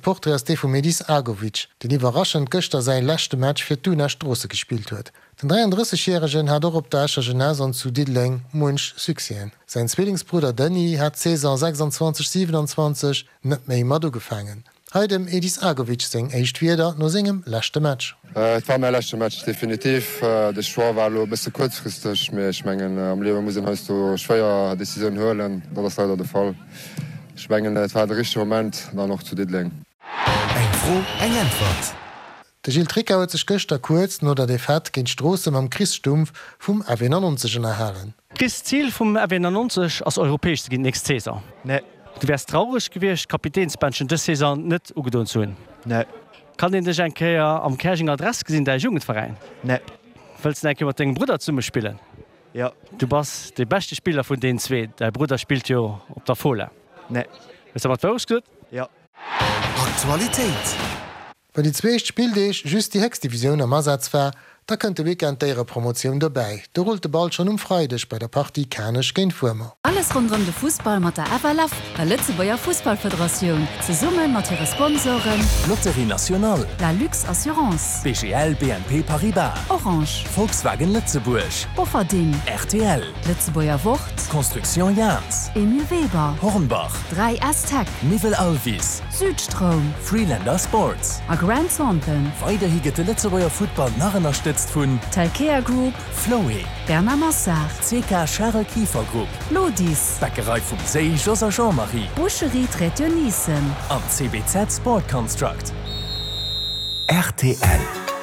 Portrait ass dee vum Edis Agovic, deen iwwerraschend gëschter säi leschte Match fir d'Una Stroosse gespillt huet. Den 33 järegen hat och op der Escher Jeunesse an zu Diddeleng muench Succèsen. Säin Zwillingsbrudder Denis hat d'Saison 26, 27 net méi mat ugefaangen. Hei dem Edis Agovic seng éischt Wierder no sengem leschte Match. Et war mäi leschte Match, definitiv. De Choix war elo e bësse kuerzfristeg, mee ech mengen am Liewe muss een heiansdo schwéier Decisiounen huelen. Dat ass leider de Fall. Ech mengen et war de richtege Moment dann och zu Diddeleng. Eng Fro, eng Äntwert. De Gilles Tricca huet sech gëschter kuerz no der Defaite géint Stroossen mam Chris Stumpf vum FW 99 ënnerhalen. Chris, d'Zil vum FW 99 ass europäesch ze ginn d'nächst Saison. Nee. Du wäers traureg gewiescht d'Kapitänsbändchen dës Saison net ugedoen ze hunn? Nee. Kann een dech eng Kéier am Käerjenger Dress gesinn, däi Jugendveräin? Nee. Wëlls de eng Kéier mat dengem Brudder zesumme spillen? Jo. Du bass dee beschte Spiller vun deenen zwee. Däi Brudder spillt jo op der Fola. Nee. Hues de mat d'Wourecht gesot? Jo. Aktualitéit. Well déi zwee éischt Spilldeeg just déi héchst Divisioun am Asaz war, da kënnt de Weekend d'Éierepromotioun dobäi. Do rullt de Ball schonn um Freideg bei der Partie Kanech géint Wuermer. Alles ronderëm de Fussball mat der FLF, der Lëtzebuerger Fussballfederatioun, zesumme mat hire Sponsoren. Lotterie Nationale. La Lux Assurance. BGL BNP Paribas. Orange. Volkswagen Lëtzebuerg. Bofferding. Rtl. Lëtzebuerger Wort. Construction Jahns. Emile Weber. Hornbach. 3S Tech. Miwwel Alvis. Südstroum. Freelander Sports. A Grant Thornton. Weiderhi gëtt de Lëtzebuerger Futtball nach ënnerstëtzt vun. Telkea Group. Floé. Bernard Massard. CK Charel Kieffer Group. Lodis. Bäckerei vum Séi Jos a Jean-Marie. Boucherie Traiteur Nissen. An CBZ Sport Construct. Rtl.